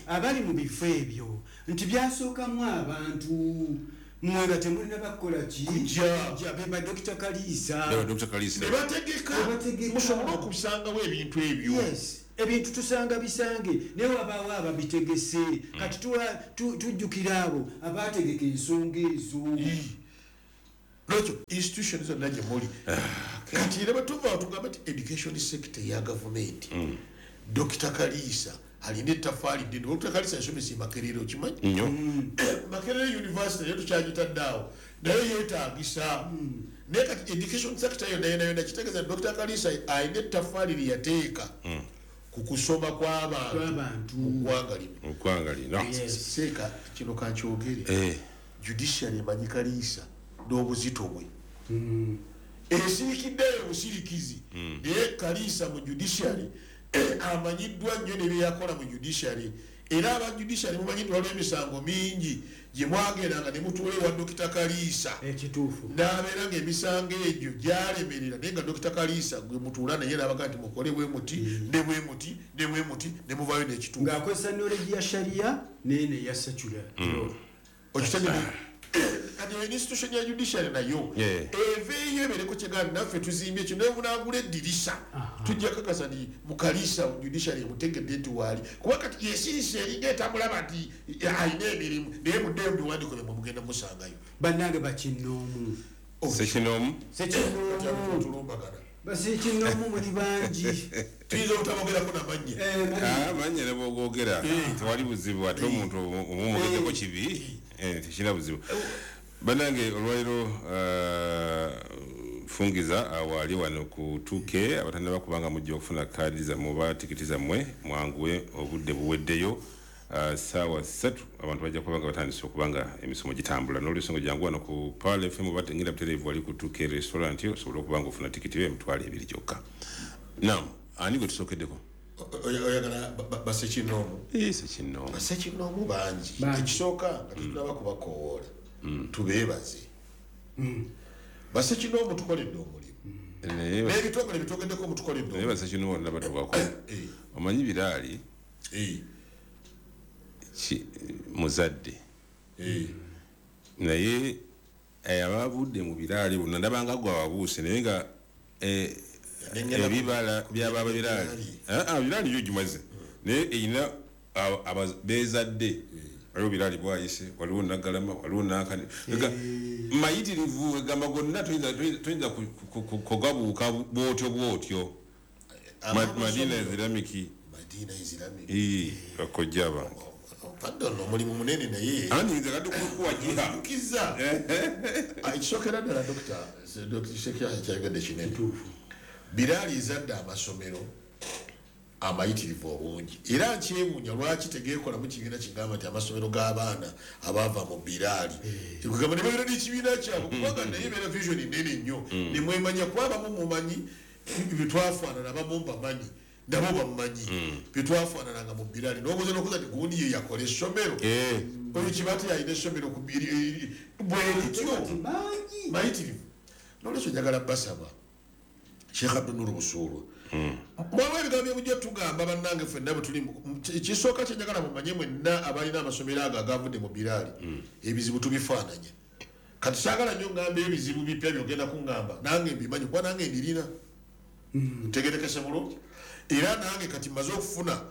[SPEAKER 2] abali mu bifo ebyo nti byasookamu abantu. Mwe nga temulina bakukola ki?
[SPEAKER 1] Kujja.
[SPEAKER 2] Be ba Dr. Kalisa.
[SPEAKER 3] Be ba Dr. Kalisa.
[SPEAKER 1] Ne bategeka. Musobole okusangawo ebintu ebyo.
[SPEAKER 2] Yes. Ebintu tusanga bisange naye wabaawo ababitegese. Kati tujjukira abo abategeka ensonga ezo.
[SPEAKER 1] Lwekyo institution zonna gye muli. Kati era bwe tuva tugamba nti education sector ya gavumenti. Dr. Kalisa alina ettaffaali ddene. Dr. Kalisa yasomesa e Makerere, okimanyi?
[SPEAKER 3] Nnyo.
[SPEAKER 1] Makerere University naye tukyagitadde awo, naye yeetaagisa. Naye kati education sector yonna yonna yonna kitegeeza nti Dr. Kalisa alina ettaffaali lye yateeka ku kusoma kw'abantu mu ggwanga lino.
[SPEAKER 3] Mu ggwanga lino.
[SPEAKER 1] Seeka kino kankyogere. Judiciary emanyi Kalisa n'obuzito bwe. Esirikiddeyo obusirikizi. Naye Kalisa mu judiciary amanyiddwa nnyo ne bye yakola mu judiciary. Era aba judiciary mumanyi nti waliwo emisango mingi gye mwagendanga ne mutuula ewa Dr. Kalisa.
[SPEAKER 2] Ekituufu.
[SPEAKER 1] N'abeera ng'emisango egyo gyalemerera, naye nga Dr. Kalisa gwe mutuula naye n'abaga nti mukole bwe muti, ne bwe muti, ne bwe muti, ne muvaayo n'ekituufu.
[SPEAKER 2] Ng'akozesa knowledge ya sharia n'eno eya secular.
[SPEAKER 1] Okitegedde? Kati institution ya judiciary nayo eveeyo ebeereko kyegamba naffe tuzimbye kino, naye munaagula eddirisa tujja kakasa nti mu Kalisa judiciary emutegedde nti waali, kuba kati yesirise eringa etamulaba nti alina emirimu, naye muddeyo mu biwandiiko byammwe mugenda musangayo.
[SPEAKER 2] Bannange bakinnoomu.
[SPEAKER 3] Sekinoomu?
[SPEAKER 2] Sekinoomu.
[SPEAKER 1] Tulumbagana.
[SPEAKER 2] Basekinoomu muli bangi.
[SPEAKER 1] Tuyinza obutabogerako namannya.
[SPEAKER 3] Amannya ne bw'ogoogera tewali buzibu, ate omuntu omumwogeddeko kibi tekirina buzibu. Bannange olwaliro fungiza awaali wano ku 2K abatannaba kubanga mujja okufuna kaadi zammwe oba tikiti zammwe mwanguwe, obudde buweddeyo. Ssaawa 3 abantu bajja kuba nga batandise okuba nga emisomo gitambula. N'olwensonga jangu wano ku Pearl FM oba ngenda butereevu wali ku 2K restaurant osobole okuba nga ofuna tikiti yo 20,000 gyokka. Naam, ani gwe tusookeddeko?
[SPEAKER 1] Oyagala basekinoomu?
[SPEAKER 3] Sekinoomu.
[SPEAKER 1] Basekinoomu bangi. Ekisooka nga tetunaba kubakoowoola tubeebaze. Basekinoomu tukoledde omulimu. N'ebitongole bitogeddeko mutukoledde omulimu.
[SPEAKER 3] Naye basekinoomu bonna batuwako. Omanyi Biraali muzadde. Naye abavudde mu Biraali bonna ndabanga gwe ababuuse, naye nga ebibala by'ababa Biraali. Biraali yo gimaze. Naye erina beezadde. Waliwo Biraali bwayise, waliwo Naggalama, waliwo Nankani. Mayitirivu egamba gonna toyinza kugabuuka bw'otyo bw'otyo. Madina Islamic.
[SPEAKER 1] Madina Islamic.
[SPEAKER 3] Bakojja bange.
[SPEAKER 1] Pardon, omulimu munene naye.
[SPEAKER 3] Ani nze kati kuwagira.
[SPEAKER 1] Nkiza. Ekisookera ddala Dr. Sheikh kyayogedde kinene. Biraali ezadde amasomero amayitirivu obungi. Era nkyewuunya lwaki tegeekolamu kibiina kigamba nti amasomero g'abaana abaava mu Biraali. Kugamba ne babeera n'ekibiina kyabwe, kubanga naye ebeera vision nnene nnyo. Ne mwemanya kuba abamu mumanyi bye twafaanana, abamu mbamanyi, nabo bamumanyi bye twafaanananga mu Biraali. N'obuuza n'okuza nti gundi ye yakola essomero. Oyo Kibaate yalina essomero ku bwe lityo. Mayitirivu. N'olwekyo njagala basaba Sheikh Abdul Busuulwa. Mwaliwo ebigambo bye mujja tugamba bannange ffenna bwe tuli ekisooka kye njagala mumanye mwenna abalina amasomero ago agavudde mu Biraali, ebizibu tubifaananya. Kati saagala nnyo ngamba ebizibu bipya by'ogenda kuŋŋamba, nange mbimanyi kuba nange mbirina. Ntegerekese bulungi. Era nange kati mmaze okufuna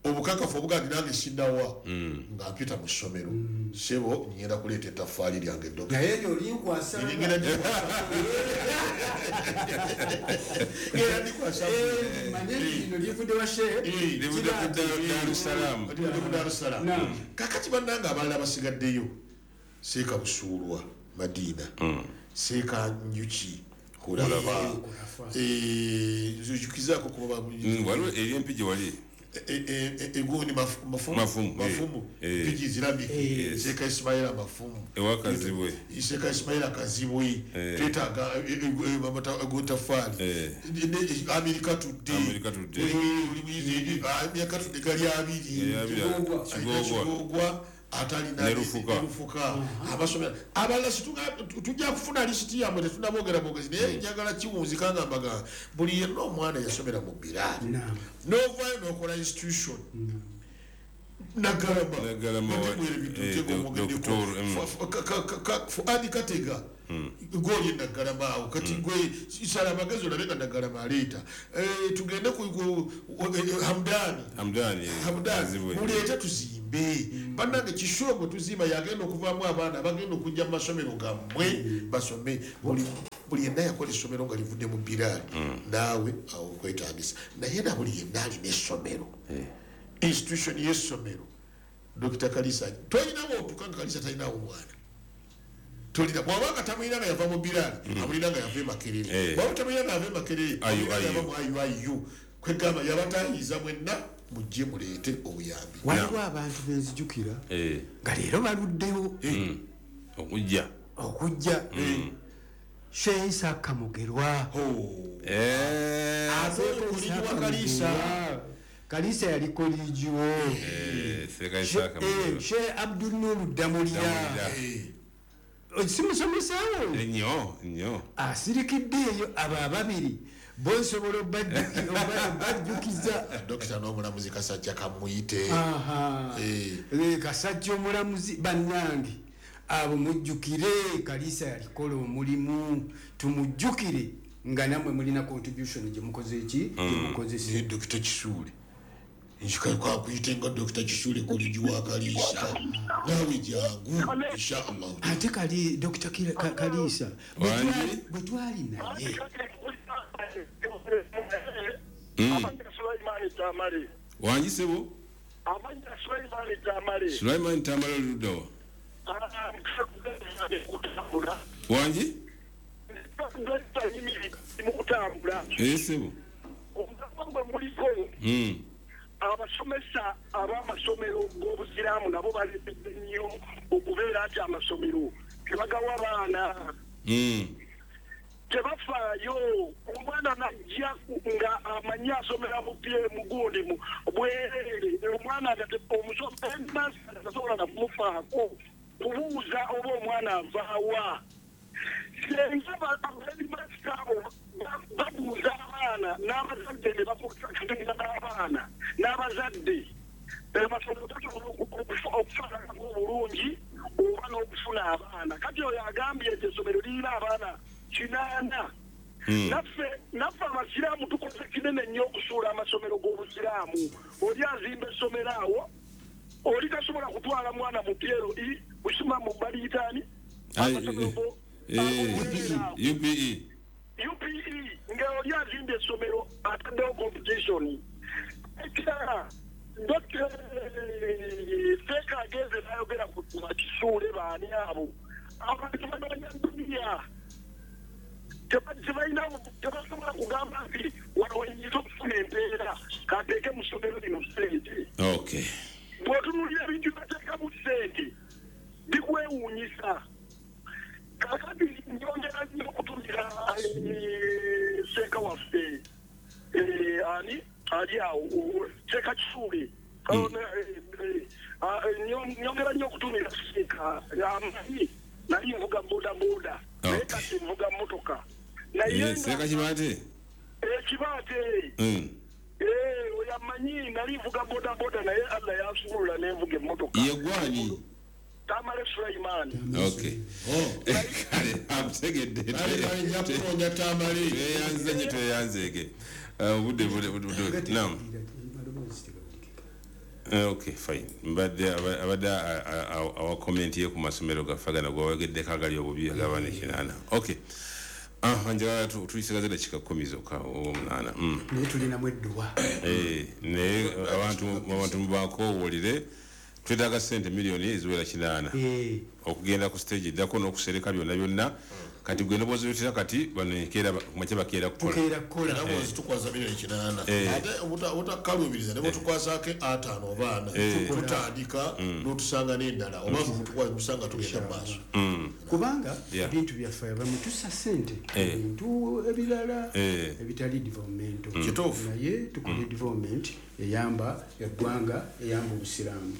[SPEAKER 1] obukakafu obuga nti nange sinnawa nga mpita mu ssomero. Ssebo ngenda kuleeta ettaffaali lyange eddogo.
[SPEAKER 2] Naye eryo linkwasa.
[SPEAKER 1] Ngenda ndikwasa.
[SPEAKER 2] Manye lino livudde wa Sheikh.
[SPEAKER 3] Livudde ku Darussalam.
[SPEAKER 1] Livudde ku Darussalam. Kaakati bannange abalala basigaddeyo. Seeka Busuulwa Madina. Seeka Njuki Khulafa. Nzujukizaako kuba
[SPEAKER 3] waliwo eri Empigi gye wali.
[SPEAKER 1] Egundi mafumu Mpigi Islamic. Seeka Ismaila Mafumu.
[SPEAKER 3] Ewa Kazibwe.
[SPEAKER 1] Seeka Ismaila Kazibwe. Twetaaga Gotafaali. America Today.
[SPEAKER 3] America Today.
[SPEAKER 1] America Today gali abiri. Kigogwa. Atalina Nerufuka. Abasomera abalala tujja kufuna lisiti yammwe tetunaboogera bwogezi, naye njagala kiwunzika nga mbaga buli yenna omwana yasomera mu Biraali n'ovaayo n'okola institution. Nagalama Fuadi Katega goli Nagalama awo kati gwe sala amagezi olabe nga Nagalama aleeta. Tugende ku Hamdani muleete tuzimbe. Bannange Kisulo gwe tuzimba yagenda okuvaamu abaana abagenda okujja mu masomero gammwe basome. Buli yenna yakola essomero nga livudde mu Biraali naawe awo okwetaagisa. Naye na buli yenna alina essomero, institution y'essomero, Dr. Kalisa tolinawo otuuka nga Kalisa talinawo mwana. Tolina bw'abanga tamulina nga yava mu Biraali, amulina nga yava e Makerere. Bw'aba tamulina nga yava e Makerere, amulina nga yava mu IUIU. Kwegamba yabatayiza mwenna mujje muleete obuyambi.
[SPEAKER 2] Waliwo abantu benzijukira nga leero baluddewo okujja Sheikh Isaka Mugerwa.
[SPEAKER 1] Kalisa
[SPEAKER 2] Kalisa yali koligiwo. Sheikh Abdul Nur Damulira simusomesawo
[SPEAKER 3] nnyo
[SPEAKER 2] asirikiddeeyo abo ababiri bonsobola obajjukiza.
[SPEAKER 1] Dokita n'omulamuzi Kasajja kamuyite.
[SPEAKER 2] Kasajja omulamuzi bannange abo mujjukire Kalisa yalikola omulimu, tumujjukire nga nammwe mulina contribution gye mukoze eki gye mukozesa.
[SPEAKER 1] Dokita Kisuule nkakuyite nga Dokita Kisuule kolegi wa Kalisa naawe jangu inshallah.
[SPEAKER 2] Ate kali Dokita Kalisa bwe twali naye
[SPEAKER 3] wangi sebo Sulaiman Tamale luddawa wangi sebo
[SPEAKER 4] abasomesa ab'amasomero g'obusiraamu nabo baleetedde nnyo okubeera nti amasomero tebagawa baana, tebafaayo. Omwana najja nga amanyi asomera mugundi bwereere, omwana omusomesa tasobola nakumufaako kubuuza oba omwana avaawa. Senga baheadmaster abo babuuza abaana n'abazadde ne bakutegeeza n'abaana n'abazadde amasomero gasobola okufaananako obulungi oba n'okufuna abaana. Kati oyo agambye nti essomero lirina abaana 8. Naffe abasiraamu tukoze kinene nnyo okusuula amasomero g'obusiraamu. Oli azimba essomero awo, oli tasobola kutwala mwana mu PLE kusoma mu baliyitaani
[SPEAKER 3] UPE
[SPEAKER 4] nga oli azimba essomero ataddewo competition. Ekirala Dr. Seeka agenze n'ayogera ku Bakisuule baani abo abantu banoonya duniya, tebasobola kugamba nti wano wenyinza okufuna empeera kateeke mu ssomero lino ssente. Bw'otunuulira ebintu bateekamu ssente bikwewuunyisa. Kakati nyongera nnyo okutumira Seeka waffe ani ali awo Seeka Kisuule, nyongera nnyo okutumira Seeka amanyi nali nvuga bodaboda naye kati nvuga mmotoka. Naye
[SPEAKER 3] Seeka Kibaate
[SPEAKER 4] Kibaate oyo amanyi nali nvuga bodaboda naye Allah yansumulula nenvuga emmotoka.
[SPEAKER 3] Ye gwani?
[SPEAKER 4] Tamale Sulaiman.
[SPEAKER 3] Okay. Kale amutegedde.
[SPEAKER 1] Tamale
[SPEAKER 3] tweyanze nnyo tweyanzeege. Obudde naam. Okay, fine. Mbadde abadde awa comment ye ku masomero gaffe gano gwawageddeko agali obubi ag'abaana 8. Okay. Njagala tuyisigaze dakiika 10 zokka oba 8.
[SPEAKER 2] Naye tulinamu edduwa.
[SPEAKER 3] Naye abantu mubakoowulire twetaaga ssente miliyoni eziwera 8 okugenda ku stage eddako n'okusereka byonna byonna. Kati gwe n'obwozibitira kati bano enkeera kumakya bakeera kukola.
[SPEAKER 1] Era bw'ozitukwasa miliyoni 8 ate obutakkaluubiriza ne bw'otukwasaako 5 oba 4 tutandika n'otusanga n'endala oba musanga tugenda mu maaso.
[SPEAKER 2] Kubanga ebintu byaffe abamu tussa ssente ebintu ebirala ebitali development. Naye tukole development eyamba eggwanga, eyamba obusiraamu.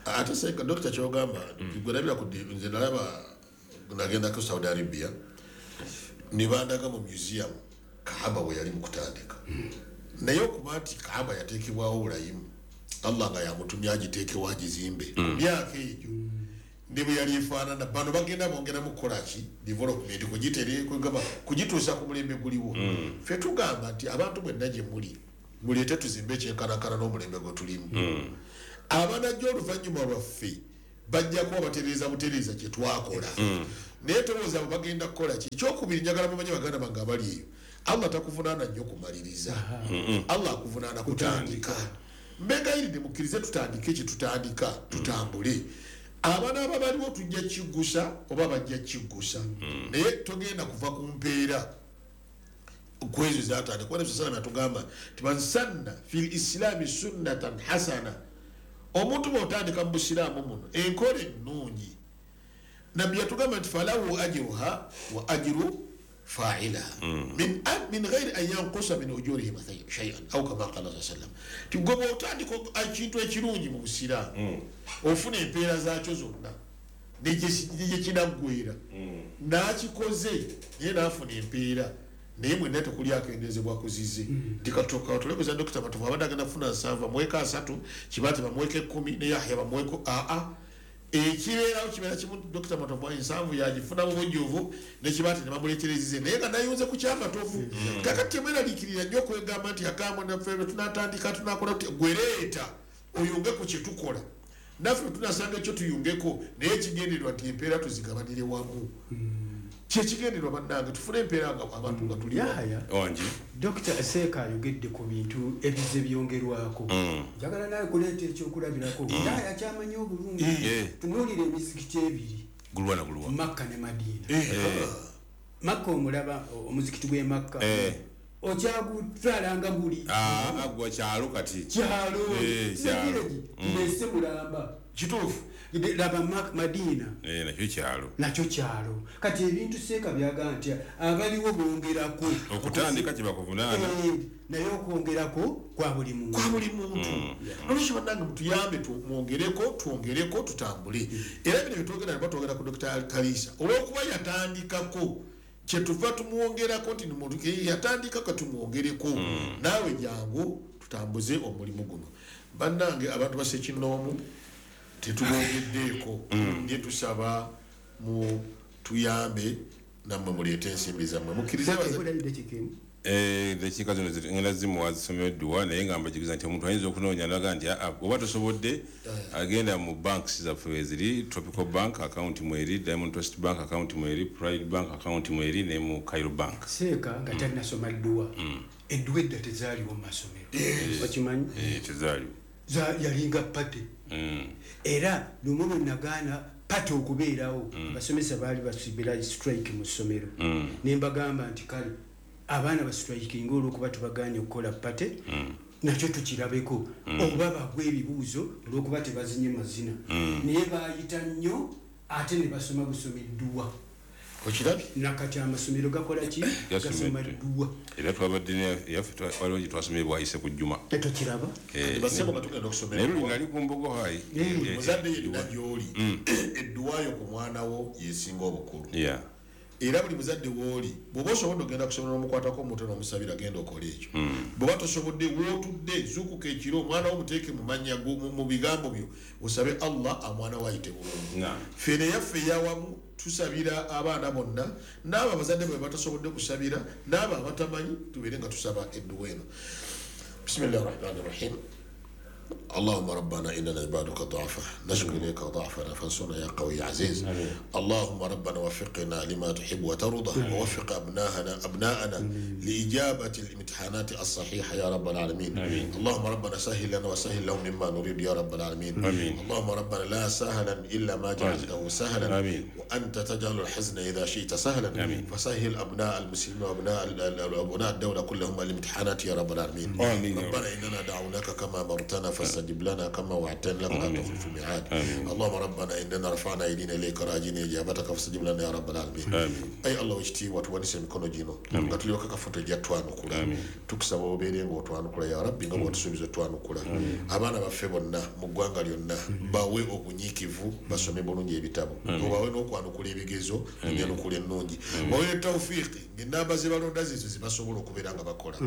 [SPEAKER 1] Ate Seeka Dokita ky'ogamba gwe nalabira ku nze nalaba nagendako Saudi Arabia ne bandaga mu museum Kaaba we yali mu kutandika. Naye okuba nti Kaaba yateekebwawo bulayimu Allah nga yamutumye agiteekewo agizimbe ku myaka egyo ne bwe yali efaanana. Bano bagenda bongeramu kukola ki? Development, kugituusa ku mulembe guliwo. Ffe tugamba nti abantu mwenna gye muli muleete tuzimbe ekyenkanankana n'omulembe gwe tulimu. Abanajja oluvannyuma lwaffe bajja kuba batereeza butereeza kye twakola. Naye tolowooza abo bagenda kukola ki? Ekyokubiri, njagala mumanye baganda bange abali eyo, Allah takuvunaana nnyo kumaliriza, Allah akuvunaana kutandika. Mbegayiridde mukkirize tutandike kye tutandika, tutambule. Abaana abaliwo tujja kiggusa oba bajja kiggusa, naye togenda kuva ku mpeera kwezo zatandika. Kuba Nabi sallallahu alayhi yatugamba nti man sanna fil islami sunnatan hasana, omuntu bw'otandika mu busiraamu muno enkola ennungi, Nabbi yatugamba nti falahu ajruha wa ajru fa'ilaha min ghairi an yanqusa min ujurihim shay'an au kama qala sallallahu alayhi wasallam. Ti gwe bw'otandika ekintu ekirungi mu busiraamu ofuna empeera zaakyo zonna negye kinaggwera, n'akikoze naye n'afuna empeera, naye mwenna tekuli akendezebwa kuzize. Nti katuka tulekuza Dr. Matovu abadde agenda kufuna 70 bamuweeko 30, Kibaate bamuweeko 10, ne Yahya bamuweeko aa. Ekibeerawo kibeera kimu, Dr. Matovu 70 yagifuna mu bujjuvu ne Kibaate ne bamuleeterezize, naye nga nayunze ku kyamatovu. Kakati temweraliikirira nnyo okwegamba nti akamwe naffe tunatandika tunakola gwereeta oyunge ku kye tukola, naffe tunasanga ekyo tuyungeko, naye ekigendererwa nti empeera tuzigabanire wamu. Kyekigendererwa bannange, tufune empeera nga abantu nga tuli
[SPEAKER 3] wangi.
[SPEAKER 2] Dr. Seeka ayogedde ku bintu ebize byongerwako. Njagala naye kuleeta ekyokulabirako. Yahya kyamanyi obulungi. Tunuulira emizikiti ebiri,
[SPEAKER 3] gulwa na gulwa,
[SPEAKER 2] Makka ne Madiina. Makka omulaba omuzikiti gw'e Makka okyagutwalanga guli
[SPEAKER 3] gwa kyalo kati
[SPEAKER 2] kyalo nese mulamba
[SPEAKER 1] kituufu.
[SPEAKER 2] Laba Madiina
[SPEAKER 3] nakyo kyalo,
[SPEAKER 2] nakyo kyalo. Kati ebintu Seeka byaga nti abaliwo bongerako
[SPEAKER 3] okutandika kye bakuvunaana,
[SPEAKER 2] naye okwongerako kwa buli muntu,
[SPEAKER 1] kwa buli muntu. Nolwekyo bannange mutuyambe twongereko twongereko tutambule. Era bino byetwogera naba twogera ku Dr. Kalisa olw'okuba yatandikako, kyetuva tumwongerako nti yatandikako tumwongereko, naawe jangu tutambuze omulimu guno. Bannange abantu basekinnoomu tetubongeddeeko, naye tusaba mu tuyambe nammwe muleete ensimbi zammwe mukkirize.
[SPEAKER 3] Eddakiika zino ngenda zimuwa zisomero edduwa, naye nga mbajugiza nti omuntu ayinza okunoonya naga nti oba tosobodde agenda mu banks zaffe weziri, Tropical Bank account mweri, Diamond Trust Bank account mweri, Pride Bank account mweri ne mu Cairo Bank.
[SPEAKER 2] Seeka nga talina dduwa, edduwa edda tezaaliwo mu masomero, okimanyi?
[SPEAKER 3] Tezaaliwo,
[SPEAKER 2] yalinga pate. Era lumu lwe nagaana pate okubeerawo, abasomesa baali basibira strike mu ssomero, ne mbagamba nti kale abaana bastrikinga olw'okuba tubagaanye okukola pate, nakyo tukirabeko, oba bagwa ebibuuzo olw'okuba tebazinye mazina. Naye baayita nnyo ate ne basoma busomi dduwa.
[SPEAKER 1] Okirabye?
[SPEAKER 2] Nakati amasomero gakola ki? Gasoma dduwa.
[SPEAKER 3] Era twabadde yaffe waliwo gye twasomye bwayise ku Juma.
[SPEAKER 2] Tetokiraba?
[SPEAKER 1] Basebo nga tugenda okusomera.
[SPEAKER 3] Naye luli nali ku Mbogo High.
[SPEAKER 1] Muzadde yenna gy'oli, edduwa yo ku mwana wo yesinga obukulu. Era buli muzadde w'oli, bw'oba osobodde ogenda kusomera n'omukwatako omutwe n'omusabira genda okole ekyo. Bw'oba tosobodde w'otudde zuukuka ekiro omwana wo muteeke mu mannya mu bigambo byo osabe Allah omwana wo ayite bulungi. Ffe neyaffe eyawamu tusabira abaana bonna n'abo abazadde bwe batasobodde kusabira n'abo abatamanyi tubeere nga tusaba edduwa eno. Bismillahi rahmani rahim. اللهم ربنا إننا عبادك ضعفاء نشكو إليك ضعفنا فانصرنا يا قوي عزيز. اللهم ربنا وفقنا لما تحب وترضى، ووفق أبناءنا لإجابة الامتحانات الصحيحة يا رب العالمين. آمين. اللهم ربنا سهل لنا وسهل لهم مما نريد يا رب العالمين. آمين. اللهم ربنا لا سهلا إلا ما جعلته سهلا. آمين. وأنت تجعل الحزن إذا شئت سهلا. آمين. فسهل أبناء المسلمين وأبناء الدولة كلهم الامتحانات يا رب العالمين. آمين. ربنا إننا دعوناك كما أمرتنا فاستجب لنا كما وعدتنا لك لا تخلف الميعاد. اللهم ربنا اننا رفعنا ايدينا اليك راجين اجابتك فاستجب لنا يا رب العالمين. Ayi Allah wekitiibwa tuwanise emikono gino nga tulyoka kafuta ejja twanukula, tukusaba obeere nga otwanukula ya Rabbi nga bw'otusuubiza otwanukula. Abaana baffe bonna mu ggwanga lyonna bawe obunyiikivu basome bulungi ebitabo, obawe n'okwanukula ebigezo enyanukula ennungi, bawe ne tawfiiki ng'ennamba ze balonda zizo ze basobola okubeera nga bakola.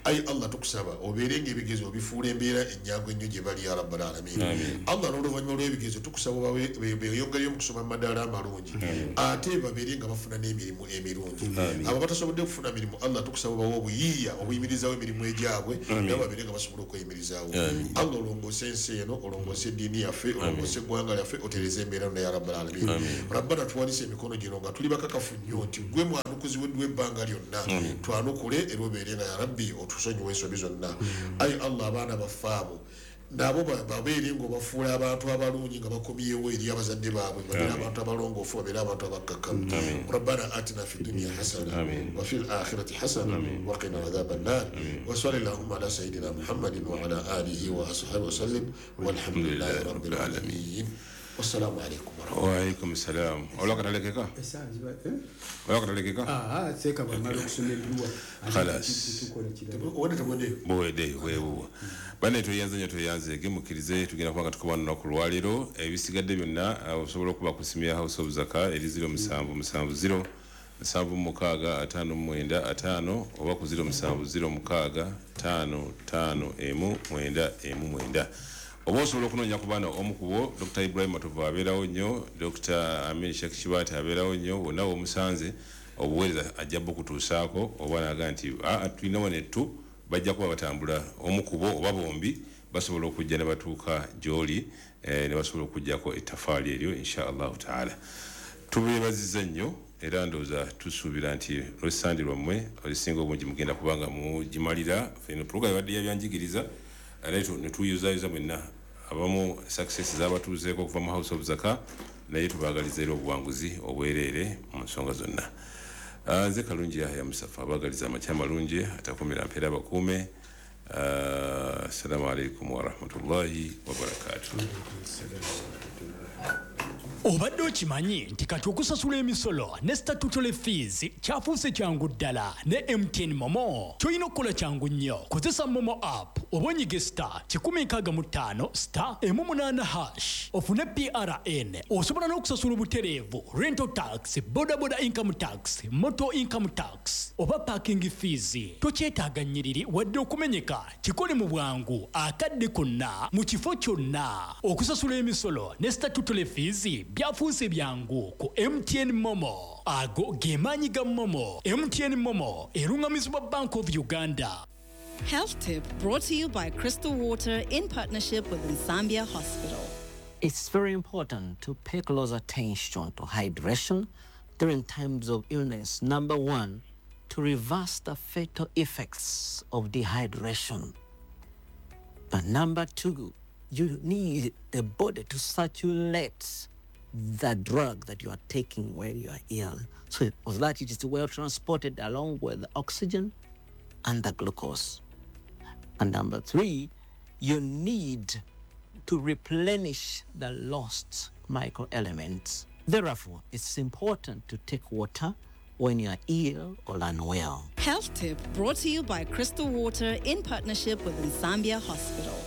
[SPEAKER 1] Ayi Allah tukusaba obeere nga ebigezo obifuula embeera ennyangu ekyangu ennyo gye bali ya rabbal alamin. Allah n'oluvannyuma lw'ebigezo tukusaba beeyongereyo mu kusoma amadaala amalungi ate babeere nga bafuna n'emirimu emirungi. Abo batasobodde kufuna mirimu Allah tukusaba bawe obuyiiya obuyimirizaawo emirimu egyabwe nabo babeere nga basobola okweyimirizaawo. Allah olongoose ensi eno, olongoose eddiini yaffe, olongoose eggwanga lyaffe, otereze embeera yonna ya rabbal alamin. Rabbana tuwanise emikono gino nga tuli bakakafu nnyo nti gwe mwanukuzi weddwa ebbanga lyonna, twanukule era obeere nga ya rabbi otusonyiwe ensobi zonna. Ayi Allah abaana baffe abo nabo babeere ng'obafuula abantu abalungi nga bakomyewo eri abazadde baabwe, babeere abantu abalongoofu, babeere abantu abakkakkamu. Rabbana atina fi dunya hasana wa fil akhirati hasana wa qina adhaban nar wa salli allahumma ala sayyidina Muhammadin wa ala alihi wa ashabihi wa sallim walhamdulillahi rabbil alamin. Wassalamu alaikum
[SPEAKER 3] wa alaikum salam. Olakatalekeka? Olakatalekeka?
[SPEAKER 2] Seka bamala okusoma edduwa.
[SPEAKER 3] Khalas. Buwedde weewo. Bane tuyanze nnyo tuyanze gemukirize tugenda kubanga tukuba lunaku lwaleero ebisigadde byonna osobola okuba ku simu ya House of Zaka eri 0770 76 59 5 oba ku 0706 5 5 1 9 oba osobola okunoonya ku baana omu ku bo Dr. Ibrahim Matovu abeerawo nnyo, Dr. Amin Sheikh Kibaate abeerawo nnyo, wonna w'omusanze obuweereza ajja bukutuusaako oba n'agamba nti tulina wano ettu bajja kuba batambula omu ku bo oba bombi basobola okujja ne batuuka gy'oli ne basobola okuggyako ettafaali eryo insha Allahu taala. Tubeebazizza nnyo era ndowooza tusuubira nti olw'essande lwammwe olusinga obungi mugenda kubanga mugimalira. Eno program ebadde ya byanjigiriza naye ne tuyuzayuza mwenna abamu success z'abatuuzeeko okuva mu House of Zaka, naye tubaagaliza era obuwanguzi obwereere mu nsonga zonna. Nze Kalungi Yahya Musafa abaagaliza amakya amalungi atakumira mpeera abakuume. Assalamu alaikum warahmatullahi wabarakatuh.
[SPEAKER 5] Obadde okimanyi nti kati okusasula emisolo ne statutory fees kyafuuse kyangu ddala ne MTN Momo. Ky'olina okukola kyangu nnyo, kozesa Momo app oba onyige *165 *18# ofune PRN. Osobola n'okusasula obutereevu rental tax, bodaboda income tax, motor income tax oba parking fees. Tokyetaaga nnyiriri wadde okumenyeka, kikole mu bwangu akadde konna mu kifo kyonna. Okusasula emisolo ne statutory fees byafuuse byangu ku MTN Momo. Ago ge maanyi ga Momo. MTN Momo erungamizibwa Bank of Uganda.
[SPEAKER 6] Health Tip brought to you by Crystal Water in partnership with Nsambya Hospital.
[SPEAKER 7] It's very important to pay close attention to hydration during times of illness. Number one, to reverse the fatal effects of dehydration. But number two, you need the body to circulate the drug that you are taking when you are ill, so that it is well transported along with the oxygen and the glucose. And number three, you need to replenish the lost microelements. Therefore, it's important to take water when you are ill or unwell.
[SPEAKER 6] Health Tip brought to you by Crystal Water in partnership with Nsambya Hospital.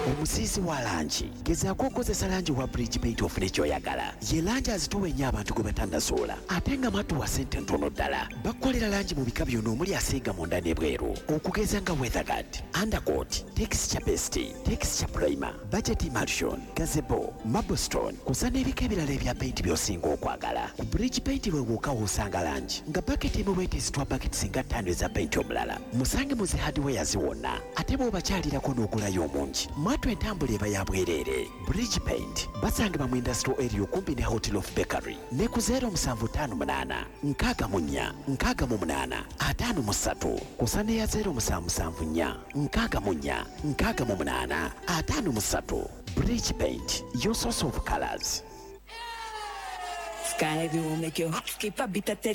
[SPEAKER 8] Omusiisi wa langi gezaako okukozesa langi wa Bridge Paint ofune ky'oyagala. Ye langi azitowa ennyo abantu gwe batannasoola ate nga matuwa ssente ntono ddala. Bakukolera langi mu bika byonna omuli asiiga munda n'ebweru, okugeza nga Weatherguard, Undercoat, Texture Paste, Texture Primer, Budget Emulsion, Gazebo, Marblestone kw'ossa n'ebika ebirala ebya paint by'osinga okwagala. Ku Bridge Paint lwe wokka w'osanga langi nga baketi emu bw'eteesitwa baketi singa 5 eza paint omulala. Musange mu zi hardwares wonna ate bw'obakyalirako n'ogulayo omungi. Mwatu entambula eba ya bwereere. Bridge Paint basangibwa mu industrial area okumpi ne Hotel of Bakery ne ku 0758 64 68 53 kw'ossa ne ya 0774 64 68 53. Bridge Paint, your source of colors.
[SPEAKER 9] Sky will make your heart skip a beat.